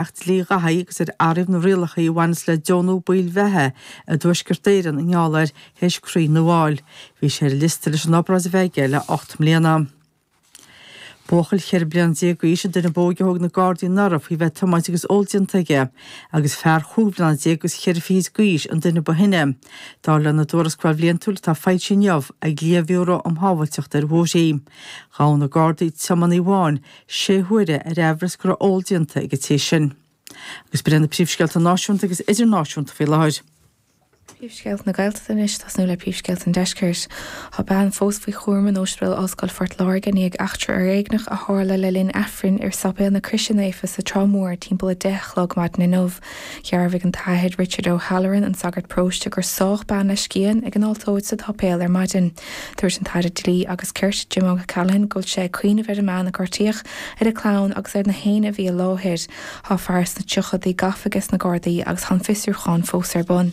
Acht Dlí Dhathaigh agus ar athraíodh na rialacha a bhaineas le deonú baill bheatha i dTuaisceart Éireann i ngeall air théis croí nua a fháil. Bhí sé ar an liosta leis an obráid a bheith aige le 8 mbliana. Buachaill 14 bliana d'aois an duine ab óige a thóg na Gardaí anuraidh faoi bheith ag tiomáint agus ól déanta aige, agus fear chúig bhliana déag agus cheithre fichid d'aois an duine ba shine, dar lena dtuarascáil bhliantúil atá foilsithe inniu ag Lia-Bhiúró um Shábháilteacht ar Bhóithre. Ghabh na Gardaí tiománaí amháin sé huaire ar aimhreas go raibh ól déanta ag an té sin. Agus b'in iad na príomhscéalta náisiúnta agus idirnáisiúnta faoi láthair. Príomhscéalta na Gaeltachta anois, tosnú le príomhscéalta an Deiscirt. Tá bean fós faoi chúram in Ospidéal Ollscoile Phort Láirge i ndiaidh eachtra fhoréigneach a tharla le linn Aifrinn ar Sáipéal na Croise Naofa sa Trá Mhór timpeall 10 a chlog maidin inniu. Dhearbhaigh an tAthair Richard O'Halloran, an sagart paróiste, gur sádh bean le scian ag an altóir sa tsáipéal ar maidin. Dúirt an tAire Dlí agus Cirt, Jim O'Callaghan, go bhfuil sé ag cuimhneamh ar an mbean a gortaíodh, ar a clann agus ar na héinne a bhí i láthair. Tá fear sna tríochaidí gafa ages na Gardaí agus tá an fiosrúchán fós ar bun.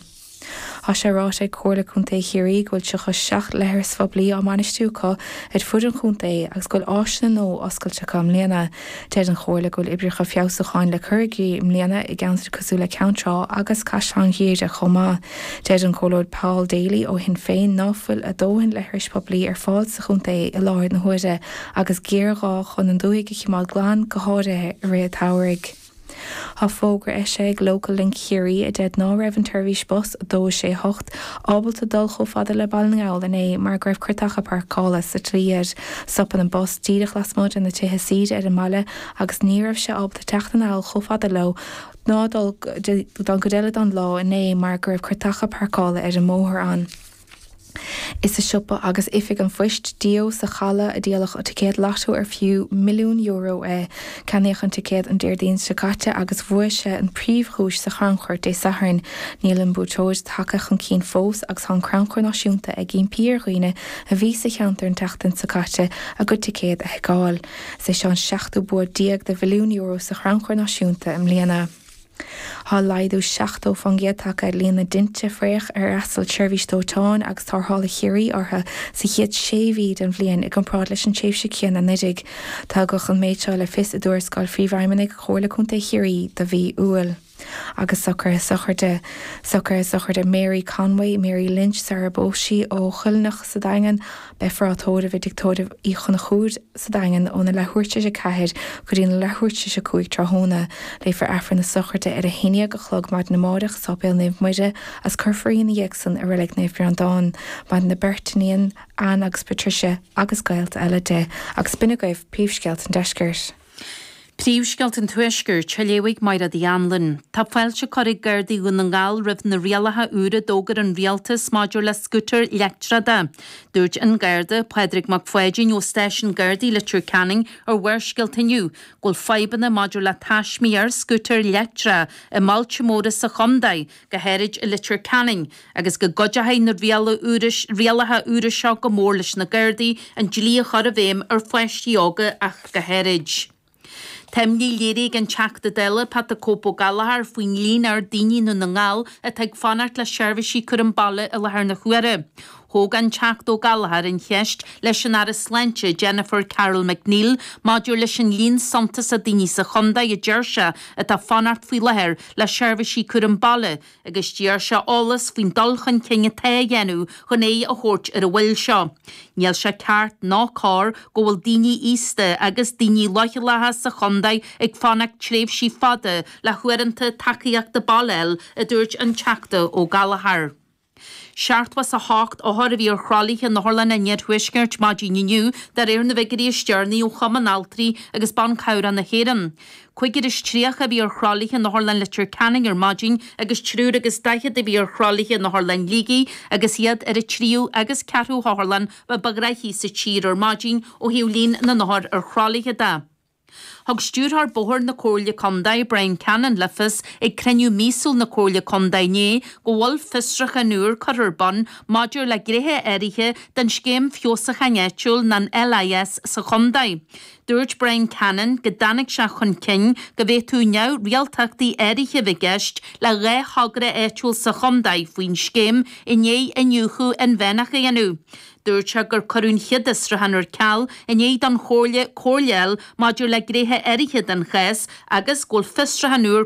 Tá sé ráite ag Comhairle Contae Chiarraí go bhfuil 37 leithreas phoiblí á mbainistiú acu ar fud an chontae agus go bhfuil áiseanna nua oscailte acu i mbliana. Deir an Chomhairle go bhfuil oibreacha feabhsúcháin le cur i gcrích i mbliana i gceantair cosúil le Ceann Trá agus Caisleán Ghriaire chomh maith. Deir an Comhairleoir Paul Daly ó Shinn Féin ná fuil a dóthain leithris poiblí ar fáil sa chontae i láthair na huaire agus géarghá chun an dúthaigh a chimeád glan, go háirithe i rith an tsamhraidh. Tá fógra eisithe ag Local Link Chiarraí a deir ná raibh an tseirbhís bus 2 6 8 ábalta dul chomh fada le Baile na nGall inné mar go raibh creatacha páirceála sa tslí air. Stopann an bus díreach lasmuigh de na tithe saoire ar an mbaile agus ní raibh sé ábalta teacht anall chomh fada leo ná dul don gcuid eile den lá inné mar go raibh creatacha páirceála ar an mbóthar ann. Is i siopa agus oifig an phoist, Dió, sa Chaladh a díoladh ticéad Lotto ar fiú €1,000,000 é. Ceannaíodh an ticéad an Déardaoin seo caite agus bhuaigh sé an príomhdhuais sa chrannchur Dé Sathairn. Níl an buaiteoir tagtha chun cinn fós agus tá an Crannchur Náisiúnta ag impí ar dhaoine a bhí sa cheantar an tseachtain seo caite a gcuid ticéad a sheiceáil. Is é seo an seachtú bua déag de €1,000,000 sa Chrannchur Náisiúnta i mbliana. Tá laghdú 70% tagtha ar líon na dtinte fraoch ar fhreastail tSeirbhís Dóiteáin agus Tarrthála Chiarraí orthu sa chéad sé mhí den bhliain i gcomparáid leis an tréimhse chéanna anuraidh. Tugadh an méid seo le fios i dtuarascáil Phríomhfheidhmeannaigh Chomhairle Contae Chiarraí do mhí Iúil. Agus socruithe sochraide. Socruithe sochraide Mary Conway, Mary Lynch sar ar phós sí ó Choilleanach sa Daingean. Beifear á tórramh i dTigh Tórraimh Uí Chonchúir sa Daingean óna leathuair tar éis 4 go dtí na leathuair tar éis 5 tráthnóna. Léifear Aifreann na sochraide ar a haon dhéag a chlog maidin amáireach i Sáipéal Naomh Muire agus cuirfear í ina dhiaidh san i Reilig Naomh Breandán. Maireann a beirt iníon, Anne agus Patricia, agus gaolta eile di. Agus b'in agaibh príomhscéalta an deiscirt. Príomhscéalta an Tuaiscirt, á léamh ag Mairéad Uí Anluain. Tá fáilte curtha ag Gardaí Dhún na nGall roimh na rialacha úra a d'fhógair an Rialtas maidir le scútair leictreacha. Dúirt an Garda, Pádraig Mac Pháidín ó Stáisiún Gardaí Leitir Ceanainn ar Bharrscéalta inniu go bhfuil fadhbanna maidir le taismí ar scútair leictreacha i mbailte móra sa chontae, go háirid i Leitir Ceanainn, agus go gcuideochaidh na rialacha úra seo go mór leis na Gardaí an dlí a chur i bhfeidhm ar pháistí óga ach go háirid. Tá imní léirithe ag an Teachta Dála Pat 'The Cope Ó Gallchóir faoin líon ard daoine i nDún na nGall atá ag fanacht le seirbhísí cúram baile i láthair na huaire. Thóg an Teachta Ó Gallchóir an cheist leis an Aire Sláinte Jennifer Carroll MacNeill maidir leis an líon suntasach daoine sa chontae a deir sé atá ag fanacht faoi láthair le seirbhísí cúram baile agus d'iarr sé eolas faoin dul chun cinn atá á dhéanamh chun aghaidh a thabhairt ar an mhoill seo. Níl sé ceart ná cóir go bhfuil daoine aosta agus daoine leochaileacha sa chontae ag fanacht tréimhsí fada le huaireanta tacaíochta baile a fháil, a dúirt an Teachta Ó Gallchóir. 78 othar a bhí ar thralaithe in otharlanna an iarthuaiscirt maidin inniu, de réir na bhfigiúirí is deireanaí ó Chumann Altraí agus Ban Cabhrach na hÉireann. Cúigear is 30 a bhí ar thralaithe in Otharlann Leitir Ceanainn ar maidin agus triúr agus daichead a bhí ar thralaithe in Otharlann Shligigh agus iad ar an tríú agus ceathrú hotharlann ba ghnaithí sa tír ar maidin ó thaobh líon na n-othar ar thralaithe de. Thug Stiúrthóir Bóthair na Comhairle Contae, Brian Cannon, le fios ag cruinniú míosúil na Comhairle Contae inné go bhfuil fiosrúchán úr curtha ar bun maidir le gnéithe áirithe den Scéim Feabhsúcháin Áitiúil nó an LIS sa chontae. Dúirt Brian Cannon go dtáinig sé chun cinn go bhféadfadh neamhrialtachtaí áirithe a bheith i gceist le 2 thogra áitiúil sa chontae faoin scéim i ndiaidh iniúchadh inmheánach a dhéanamh. Dúirt sé gur cuireadh an chéad fhiosrúchán ar ceal i ndiaidh don Chomhairle comhairle a fháil maidir le gnéithe áirithe den chás agus go bhfuil fiosrúchán úr.